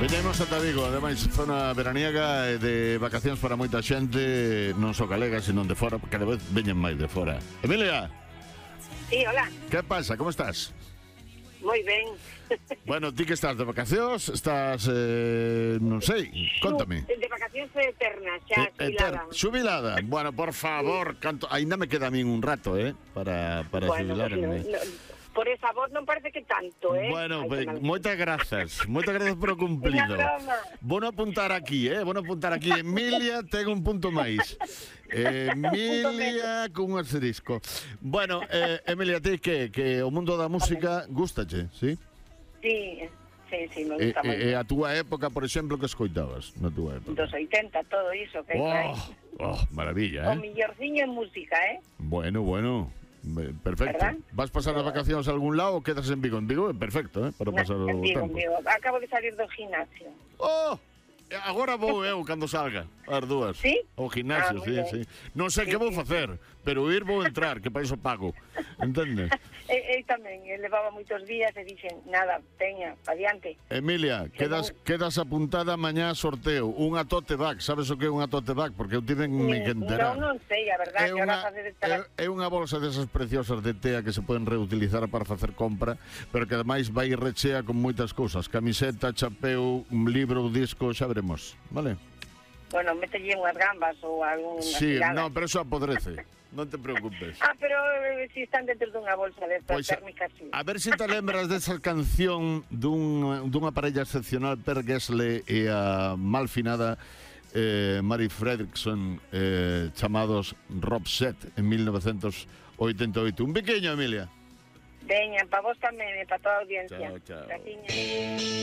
Veñemos ata Vigo, ademais zona veraniega e de vacacións para moita xente, non só galega, sino de fora, cada vez veñen máis de fora. Emilia, Sí, hola. que pasa? Como estás? Moi ben. Bueno, ti que estás de vacacións, estás, non sei, contame. De vacacións eternas, xa, xubilada. Xubilada. Bueno, por favor, canto, aínda me queda a min un rato, para xubilarme. Por esa voz non parece que tanto, Bueno, moitas grazas por o cumplido. Vou apuntar aquí, Emilia ten un punto máis. Emilia cun asterisco. Bueno, Emilia, ti que o mundo da música gústache, sí? Sí, me gusta moito. E a túa época, por exemplo, que escoitabas na túa época? Dos 80, todo iso que hai. Maravilla, O millorciño en música, Bueno. Perfecto. ¿Verdad? Vas pasar as vacacións a algún lado ou quedas en Vigo? En Vigo é perfecto, para pasar o tempo. En Vigo. Acabo de salir do gimnasio. Agora vou eu cando salga, as dúas. Sí? O gimnasio, sí. Non sei que vou facer, pero ir vou entrar, que para iso pago. Entendes? Eu tamén, levaba moitos días e dixen, nada, teña, adiante. Emilia, quedas apuntada mañá a sorteo, unha tote bag. Sabes o que é unha tote bag? Porque eu tiven que enterar. Non sei, a verdade, que ahora facer estar... É unha bolsa desas preciosas de tea que se poden reutilizar para facer compra, pero que ademais vai rechea con moitas cousas. Camiseta, chapeu, un libro, un disco, xa veremos, vale? Bueno, mételle unhas gambas ou algún... Sí, non, pero eso apodrece. Non te preocupes. Pero si están dentro dunha bolsa de estas térmicas, sí. A ver se te lembras desa canción dunha parella excepcional, Per Gessle e a malfinada Mary Fredriksson, chamados Rob Set, en 1988. Un pequeño, Emilia. Veña, para vos tamén e para toda a audiencia. Chao. Graciñas.